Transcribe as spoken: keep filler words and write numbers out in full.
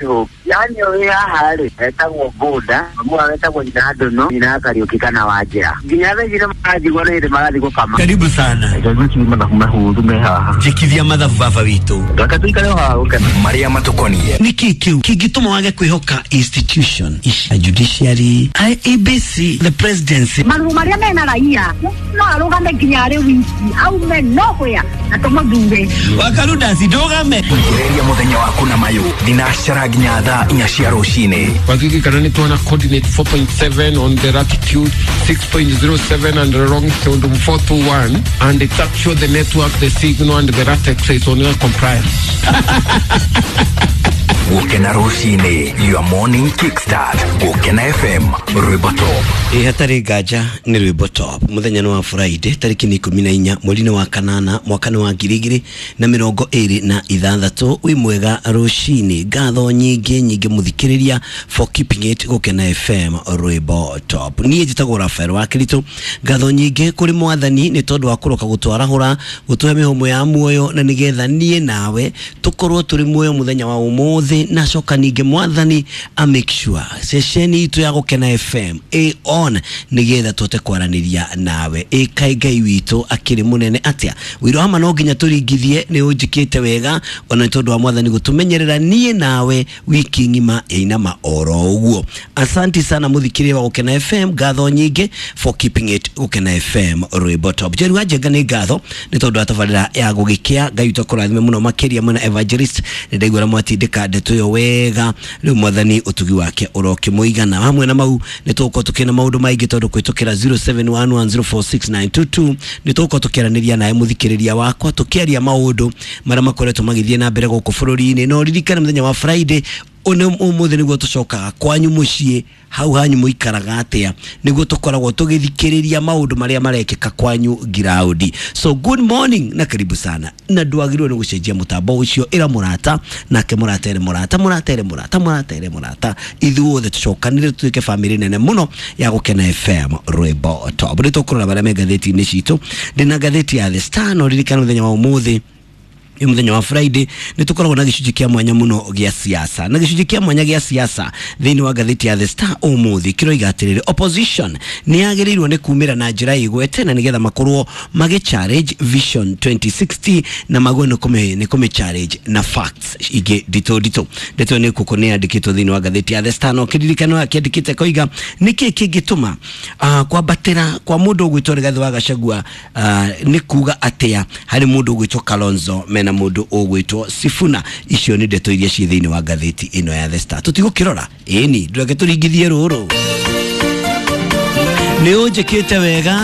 Yani ũrĩ haha rĩ etagwo Boda, mwa etagwo nyina Ndono, nyina Kariũki kana Wanjĩra. Nginya thaa ici nĩ maranjigua nĩ hĩndĩ marathiĩ gũkama. Karibu sana. Reke mathabu mahũthũ me haha. Njĩkithia mathabu baba witũ. Reke tũikare o haha gũkena. Marĩa matũkoniĩ. Nĩkĩ kĩu kĩngĩtũma wage kwĩhoka institution ici, judiciary, I E B C, the presidency? Maruo marĩa mena raia no arũgame nginya arĩ wiki aume nowhere na tũmũthure. Wakarudasi ndũgame. Ongereria mũthenya waku na mayũ thinacara nginya thaa inya cia rũcinĩ. Wakikikana nĩ tuona coordinate four point seven on the latitude, six point zero seven and the longitude four two one, and it's actually the network, the signal and the latex is on compliance. Gũkena rũcinĩ, your morning kickstart. Gũkena F M, rwĩmbo top. Ĩ hatarĩ nganja nĩ rwĩmbo top. Mũthenya nĩ wa Friday, tarĩki nĩ ikũmi na inya mweri-inĩ wa kanana mwaka nĩ wa ngiri igĩrĩ na mĩrongo ĩrĩ na ithathatũ. Wĩ mwega rũcinĩ, ngatho nyingĩ nyingĩ mũthikĩrĩria for keeping it Gũkena F M, rwĩmbo top. Niĩ njĩtagwo Rafael wa Kĩritũ. Ngatho nyingĩ kũrĩ mwathani nĩ tondũ wa kũroka gũtwarahũra, gũtũhe mĩhũmũ ya muoyo na nĩgetha niĩ nawe tũkorwo tũrĩ muoyo mũthenya wa ũmũthĩ, na coka ningĩ mwathani a make sure ceceni itũ ya Gũkena F M ĩ on nĩgetha tũhote kwaranĩria nawe. Ĩ kaĩ Ngai witũ akĩrĩ mũnene atĩa! Wĩra wa ma no nginya tũringithie nĩ ũnjĩkĩte wega, ona nĩ tondũ wa mwathani gũtũmenyerera niĩ nawe wiki ng'ima ĩinama oro ũguo. Asanti sana mũthikĩrĩria wa Gũkena F M, ngatho nyingĩ for keeping it Gũkena F M, rwĩmbo top. Njeri wa Njenga, nĩ ngatho nĩ tondũ wa tabarĩra ya gũgĩkĩa. Ngai witũ akũrathime mũno makĩria. Mwena evangelist, nĩ ndaigua mwatindĩka ndeto ĩyo wega. Rĩu mwathani ũtugi wake ũrokĩmũigana. Hamwe na mau nĩ tũgũkorwo tũkĩna maũndũ maingĩ tondũ kũhĩtũkĩra zero seven one one zero four six nine two two nĩ tũgũkorwo tũkĩaranĩria nawe mũthikĩrĩria wakwa, tũkĩaria maũndũ marĩa makoretwo magĩthiĩ na mbere gũkũ bũrũri-inĩ. No ririkane mũthenya wa Friday ũnĩ ũmũthĩ nĩguo tũcokaga kwanyu mũciĩ, hau hanyu mũikaraga atĩa, nĩguo tũkoragwo tũgĩthikĩrĩria maũndũ marĩa marekĩka kwanyu ngiraũndi. So good morning na karibu sana, na ndwagĩrĩirwo nĩ gũcenjia mũtambo ũcio. Ĩra mũrata nake mũrata ere mũrata, mũrata ere mũrata, mũrata ere mũrata, ithuothe tũcokanĩre tũtuĩke bamĩrĩ nene mũno ya Gũkena F M, rwĩmbo top. Nĩ tũkũrora marĩa me ngathĩti-inĩ citũ. Ndĩna ngathĩti ya The Star. No ririkana mũthenya wa ũmũthĩ, nĩ mũthenya wa Friday, nĩ tũkoragwo na gĩcunjĩ kĩa mwanya mũno gĩa siasa, na gĩcunjĩ kĩa mwanya gĩa siasa thĩinĩ wa ngathĩti ya The Star ũmũthĩ kĩroiga atĩrĩrĩ, opposition nĩ yagĩrĩirwo nĩ kumĩra na njĩra ĩgwete na nĩgetha makorwo magĩ challenge Vision twenty sixty na magwe nĩ kũmĩ nĩ kũmĩ challenge na facts ingĩ nditũ nditũ. Ndeto nĩ kũkũ nĩ yandĩkĩtwo thĩinĩ wa ngathĩti ya The Star, no kĩririkano akĩandĩkĩte koiga nĩkĩ kĩngĩtũma uh, kwambatĩra kwa mũndũ ũgwĩtwo Rigathĩ wa Gachagua uh, nĩ kuga atĩa harĩ mũndũ ũgwĩtwo Kalonzo mena mũndũ ũgwĩtwo Sifuna. Icio nĩ ndeto iria ciĩ thĩinĩ wa ngathĩti ĩno ya The Star. Tũtigũkĩrora ĩni, ndũreke tũringithie rũrũ. Nĩ ũnjĩkĩte wega.